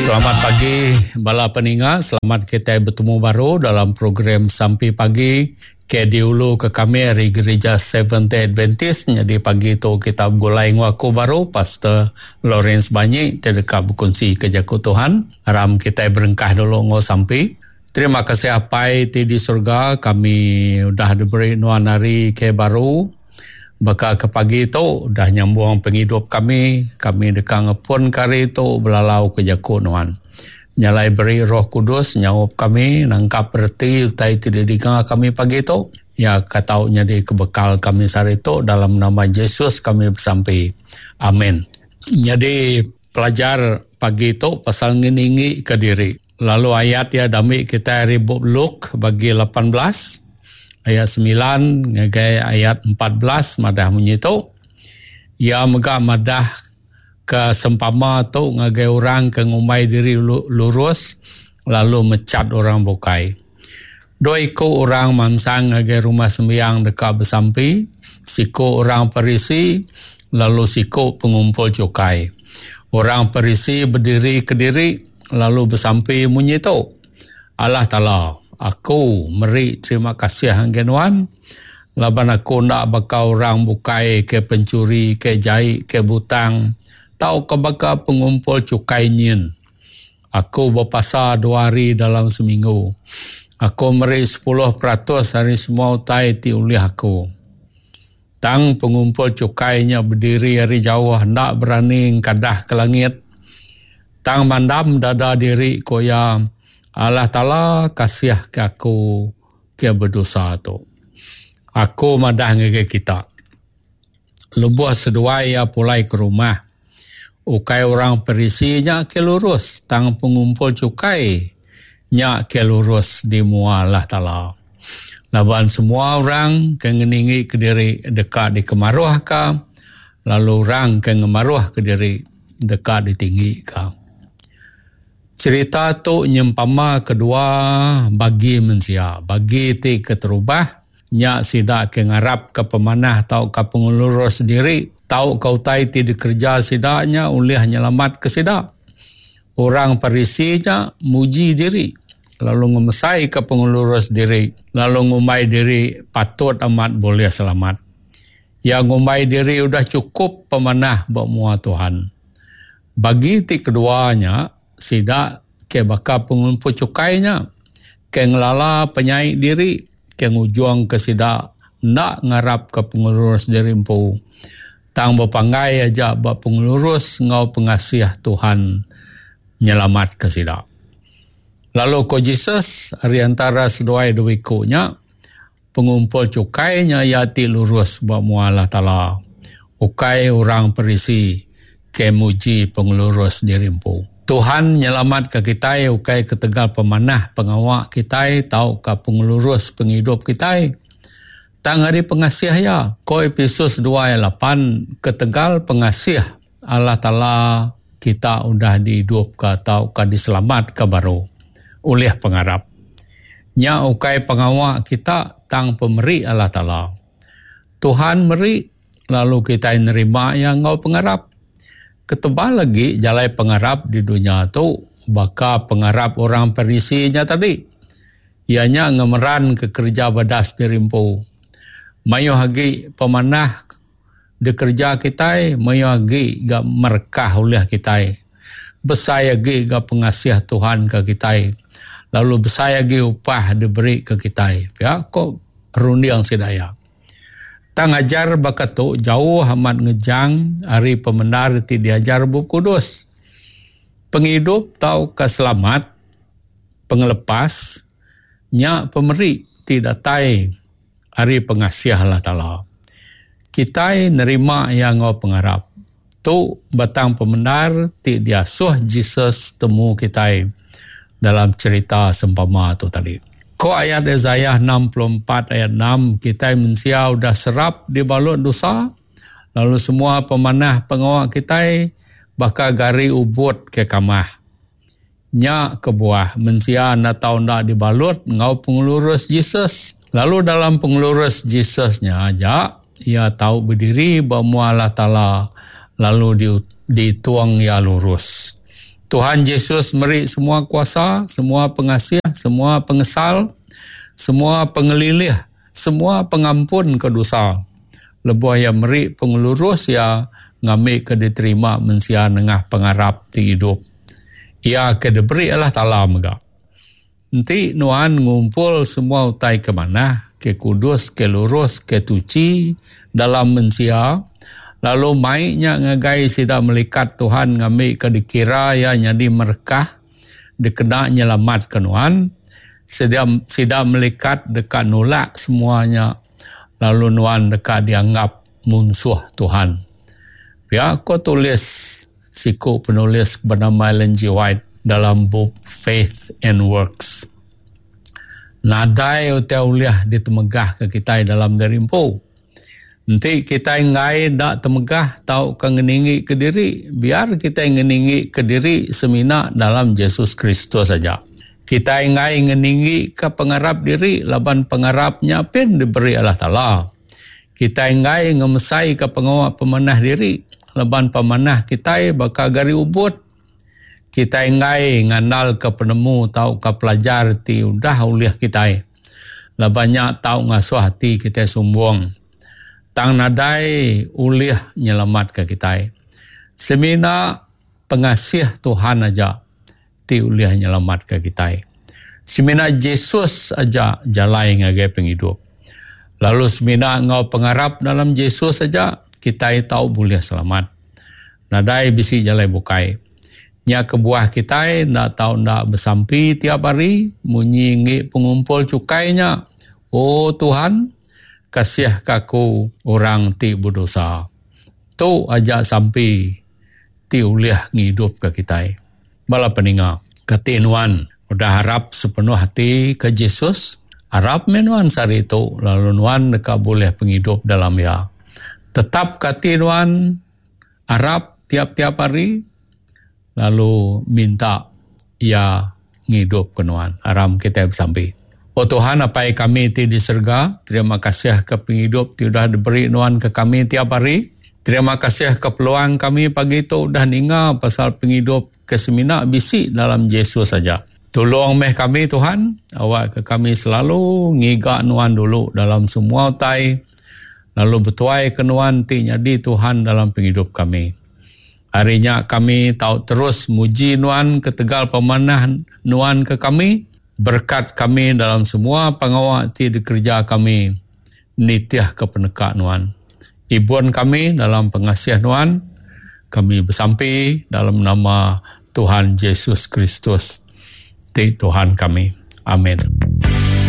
Selamat pagi bala peninga, selamat kitai betemu baru dalam program Sampi Pagi ke diulu ke kami ari Gerija Seventh Day Adventist. Nyadi pagi tu kita begulai enggau aku baru Pastor Lawrence Banyi ti deka bekunsi ke jaku Tuhan. Aram kitai berengkah dulu enggau sampi. Terima kasih Apai ti di surga kami udah diberi nuan hari ke baru. Baka ke pagi tu udah nyambung pengidup kami, kami deka ngepun ke hari tu belalau ke jaku nuan. Nya alai beri Roh Kudus nyaup kami nangkap reti utai ti didinga kami pagi tu, iya ka tau nyadi ke bekal kami sehari tu dalam nama Jesus kami besampi. Amin. Nyadi pelajar pagi tu pasal ngeninggi ke diri. Lalu ayat iya dambi kitai ari bup Luke bagi 18 ayat 9 ngagai ayat 14 madah munyi tu. Iya mega madah ke sempama tu ngagai orang ke ngumbai diri lurus lalu mechat orang bukai. Dua iku orang mansang ngagai rumah sembiang deka besampi, siku orang Parisi lalu siku pengumpul chukai. Orang Parisi bediri kediri lalu besampi munyi tu, Allah Taala, aku meri terima kasih ngagai Nuan laban aku enda baka orang bukai ke penchuri, ke jai, ke butang tauka baka pengumpul chukai nyin. Aku bepasa dua hari dalam seminggu. Aku meri 10% ari semua utai ti ulih aku. Tang pengumpul chukai nya bediri ari jauh enda berani engkadah ke langit. Tang mandam dada diri ku iya, Allah Taala kasih ke aku ke bedosa tu. Aku madah ngagai kita, lebuh seduai iya pulai ke rumah, ukai orang Parisi nya ke lurus tang pengumpul chukai nya ke lurus di mua Allah Taala. Laban semua orang ke ngeninggi kediri deka dikemaruhka, lalu orang ke ngemaruhka diri deka ditinggika. Cherita tu nyempama kedua bagi mensia. Bagi ti keterubah nya sida ke ngarapka pemanah tauka pengelurus diri tauka utai ti dikereja sida nya ulih nyelamatka sida. Orang Parisi nya muji diri lalu ngemesaika pengelurus diri lalu ngumbai diri patut amat bulih selamat. Iya ngumbai diri udah chukup pemanah ba mua Tuhan. Bagi ti kedua nya, sida ke baka pengumpul chukai nya, ke ngelala penyai diri ke ngujungka sida enda ngarapka pengelurus diri empu, tang bepanggai aja ba pengelurus enggau pengasih Tuhan nyelamatka sida. Lalu ko Jesus, ari antara seduai dua iku nya, Pengumpul chukai nya iya ti lurus ba mua Allah Taala, ukai orang Parisi ke muji pengelurus diri empu. Tuhan nyelamatka kitai ukai ketegal pemanah pengawa kitai tauka pengelurus pengidup kitai, tang ari pengasih Iya. Ko Epesus dua ayat lapan, Ketegal pengasih Allah Taala kita udah diidupka tauka diselamatka baru ulih pengarap. Nya ukai pengawa kita tang pemeri Allah Taala. Tuhan meri lalu kitai nerima iya enggau pengarap. Ketebal agi jalai pengarap di dunya tu baka pengarap orang Parisi nya tadi. Iya nya ngemeranka kereja badas diri empu. Mayuh agi pemanah dikereja kitai mayuh agi ga merekah ulih kitai. Besai agi ga pengasih Tuhan ke kitai lalu besai agi upah diberi ke kitai pia ko runding sida iya. Tang ajar baka tu jauh amat ngejang ari pemendar ti diajar Bup Kudus. Pengidup tauka selamat, pengelepas, nya pemeri ti datai ari pengasih Allah Taala. Kitai nerima iya enggau pengarap. Tu batang pemendar ti diasuh Jesus temu kitai dalam cherita sempama tu tadi. Ko ayat Isaiah 64 ayat 6, kitai mensia udah serap dibalut dosa, lalu semua pemanah pengawa kitai baka gari ubut ke kamah. Nya kebuah mensia enda tau enda dibalut enggau pengelurus Jesus. Lalu dalam pengelurus Jesus nya aja, iya tau bediri ba mua Allah Taala lalu ditung iya lurus. Tuhan Jesus meri semua kuasa, semua pengasih, semua pengesal, semua pengelilih, semua pengampun ke dosa. Lebuh iya meri pengelurus iya ngambika diterima mensia nengah pengarap ti idup. Iya ke diberi Allah Taala mega. Enti nuan ngumpul semua utai ke manah, ke kudus, ke lurus, ke tuchi dalam mensia, lalu mai nya ngagai sida melikat Tuhan ngambika dikira iya nyadi merekah dikena nyelamatka nuan, sida sida melikat deka nulak semua nya lalu nuan deka dianggap munsuh Tuhan. Pia ko tulis siku penulis benama Ellen G. White dalam bup Faith and Works. Nadai utai ulih ditemegahka kitai dalam diri empu. Enti kitai enggai enda temegah tauka ngeninggika diri, biar kitai ngeninggika diri semina dalam Jesus Kristus aja. Kitai enggai ngeninggika pengarap diri laban pengarap nya pin diberi Allah Taala. Kitai enggai ngemesaika pengawa pemanah diri laban pemanah kitai baka gari ubut. Kitai enggai ngandalka penemu tauka pelajar ti udah ulih kitai laban nya tau ngasuh ati kitai sumbung tang nadai ulih nyelamatka kitai. Semina pengasih Tuhan aja ti ulih nyelamatka kitai. Semina Jesus aja jalai ngagai pengidup. Lalu semina enggau pengarap dalam Jesus aja kitai tau bulih selamat. Nadai bisi jalai bukai. Nya kebuah kitai enda tau enda besampi tiap hari munyi enggi pengumpul chukai nya, O Tuhan, kasihka aku orang ti bedosa. Tu aja sampi ti ulih ngidupka kitai. Bala peninga, kati nuan udah arap sepenuh ati ke Jesus? Arap meh nuan sehari tu lalu nuan deka bulih pengidup dalam Iya. Tetapka ati nuan arap tiap-tiap hari lalu minta Iya ngidupka nuan. Aram kitai besampi. O Tuhan Apai kami ti di serega, terima kasih ke pengidup ti udah diberi nuan ke kami tiap hari. Terima kasih ke peluang kami pagi tu udah ninga pasal pengidup ke semina bisi dalam Jesus aja. Tulung meh kami Tuhan, awakka kami selalu ngiga nuan dulu dalam semua utai lalu betuaika nuan ti nyadi Tuhan dalam pengidup kami. Ari nya kami tau terus muji nuan ketegal pemanah nuan ke kami. Berekat kami dalam semua pengawa ti dikereja kami nitihka peneka Nuan. Ibun kami dalam pengasih Nuan. Kami besampi dalam nama Tuhan Jesus Kristus ti Tuhan kami. Amin.